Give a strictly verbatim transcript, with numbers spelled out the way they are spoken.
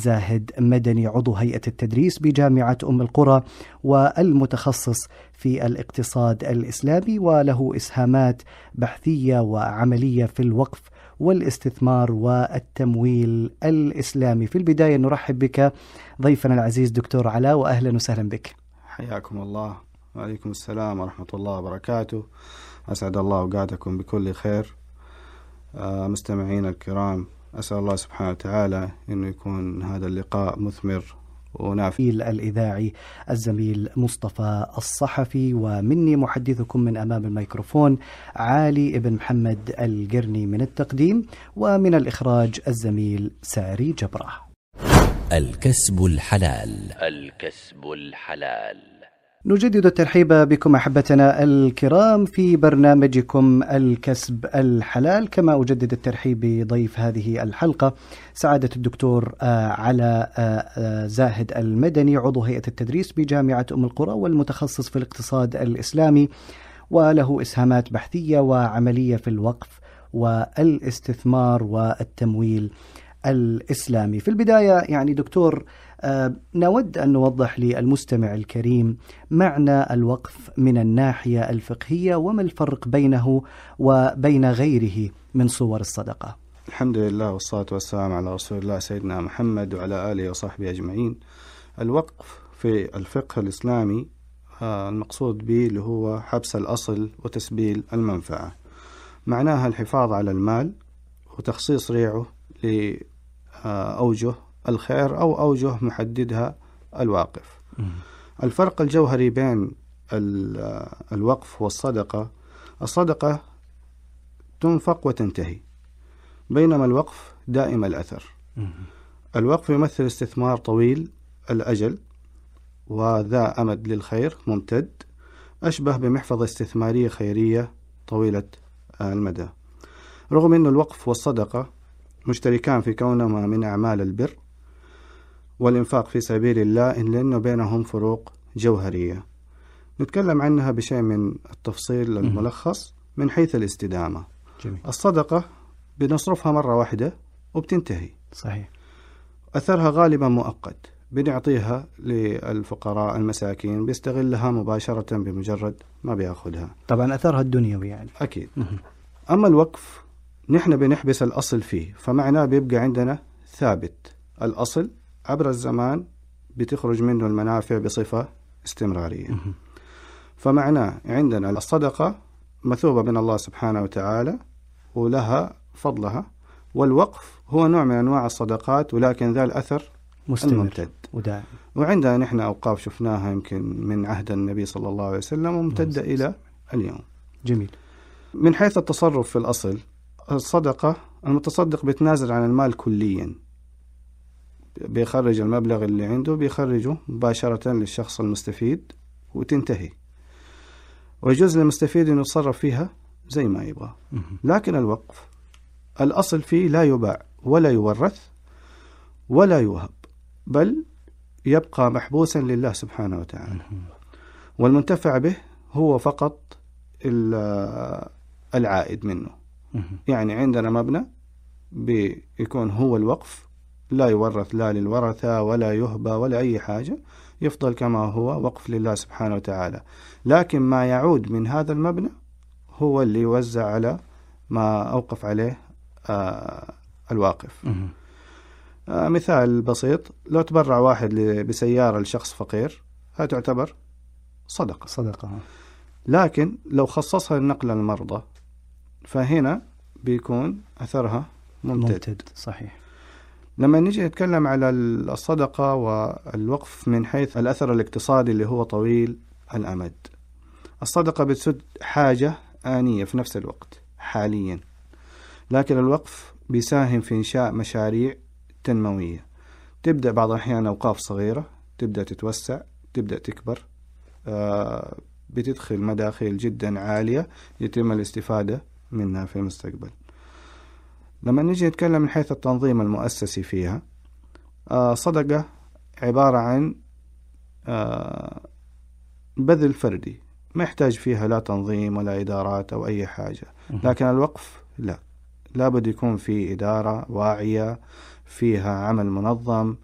زاهد مدني عضو هيئة التدريس بجامعة أم القرى والمتخصص في الاقتصاد الإسلامي، وله إسهامات بحثية وعملية في الوقف والاستثمار والتمويل الإسلامي. في البداية نرحب بك ضيفنا العزيز دكتور علاء، وأهلا وسهلا بك. حياكم الله. وعليكم السلام ورحمة الله وبركاته. أسعد الله أوقاتكم بكل خير. آه مستمعين الكرام، أسأل الله سبحانه وتعالى أنه يكون هذا اللقاء مثمر ونافع. الإذاعي الزميل مصطفى الصحفي، ومني محدثكم من أمام الميكروفون علي ابن محمد القرني من التقديم، ومن الإخراج الزميل ساري جبرة. الكسب الحلال. الكسب الحلال. نجدد الترحيب بكم أحبتنا الكرام في برنامجكم الكسب الحلال، كما أجدد الترحيب بضيف هذه الحلقة سعادة الدكتور علاء زاهد المدني عضو هيئة التدريس بجامعة أم القرى والمتخصص في الاقتصاد الإسلامي، وله إسهامات بحثية وعملية في الوقف والاستثمار والتمويل الإسلامي. في البداية يعني دكتور، آه نود أن نوضح للمستمع الكريم معنى الوقف من الناحية الفقهية، وما الفرق بينه وبين غيره من صور الصدقة. الحمد لله والصلاة والسلام على رسول الله سيدنا محمد وعلى آله وصحبه أجمعين. الوقف في الفقه الإسلامي آه المقصود به اللي هو حبس الأصل وتسبيل المنفعة، معناها الحفاظ على المال وتخصيص ريعه لأوجه الخير أو أوجه محددها الواقف. م. الفرق الجوهري بين الوقف والصدقة، الصدقة تنفق وتنتهي، بينما الوقف دائم الأثر. م. الوقف يمثل استثمار طويل الأجل وذا أمد للخير ممتد، أشبه بمحفظة استثمارية خيرية طويلة المدى. رغم أن الوقف والصدقة مشتركان في كونهما من أعمال البر والإنفاق في سبيل الله، إلا أنه بينهم فروق جوهرية نتكلم عنها بشيء من التفصيل الملخص. من حيث الاستدامة، جميل. الصدقة بنصرفها مرة واحدة وبتنتهي، صحيح. أثرها غالبا مؤقت، بنعطيها للفقراء المساكين بيستغلها مباشرة بمجرد ما بياخدها، طبعا أثرها الدنيوي يعني أكيد. أما الوقف نحن بنحبس الأصل فيه، فمعناه بيبقى عندنا ثابت الأصل عبر الزمان، بتخرج منه المنافع بصفة استمرارية. فمعناه عندنا الصدقة مثوبة من الله سبحانه وتعالى ولها فضلها، والوقف هو نوع من أنواع الصدقات ولكن ذا الأثر مستمر الممتد ودائم. وعندنا نحن أوقاف شفناها يمكن من عهد النبي صلى الله عليه وسلم وممتدة إلى اليوم. جميل. من حيث التصرف في الأصل، الصدقة المتصدق بيتنازل عن المال كليا، بيخرج المبلغ اللي عنده بيخرجه مباشرة للشخص المستفيد وتنتهي، ويجوز للمستفيد أن يتصرف فيها زي ما يبغى. لكن الوقف الأصل فيه لا يباع ولا يورث ولا يوهب، بل يبقى محبوسا لله سبحانه وتعالى، والمنتفع به هو فقط العائد منه. يعني عندنا مبنى بيكون هو الوقف، لا يورث لا للورثة ولا يهبى ولا أي حاجة، يفضل كما هو وقف لله سبحانه وتعالى، لكن ما يعود من هذا المبنى هو اللي يوزع على ما أوقف عليه آه الواقف. آه مثال بسيط، لو تبرع واحد بسيارة لشخص فقير هذا تعتبر صدقة صدقة لكن لو خصصها للنقل للمرضى فهنا بيكون أثرها ممتد, ممتد. صحيح. لما نيجي نتكلم على الصدقة والوقف من حيث الأثر الاقتصادي اللي هو طويل الأمد، الصدقة بتسد حاجة آنية في نفس الوقت حاليا، لكن الوقف بيساهم في إنشاء مشاريع تنموية، تبدأ بعض الأحيان أوقاف صغيرة تبدأ تتوسع تبدأ تكبر، آه بتدخل مداخيل جدا عالية يتم الاستفادة منها في المستقبل. لما نيجي نتكلم من حيث التنظيم المؤسسي فيها، آه صدقة عبارة عن آه بذل فردي ما يحتاج فيها لا تنظيم ولا إدارات أو أي حاجة، لكن الوقف لا، لابد يكون في إدارة واعية فيها عمل منظم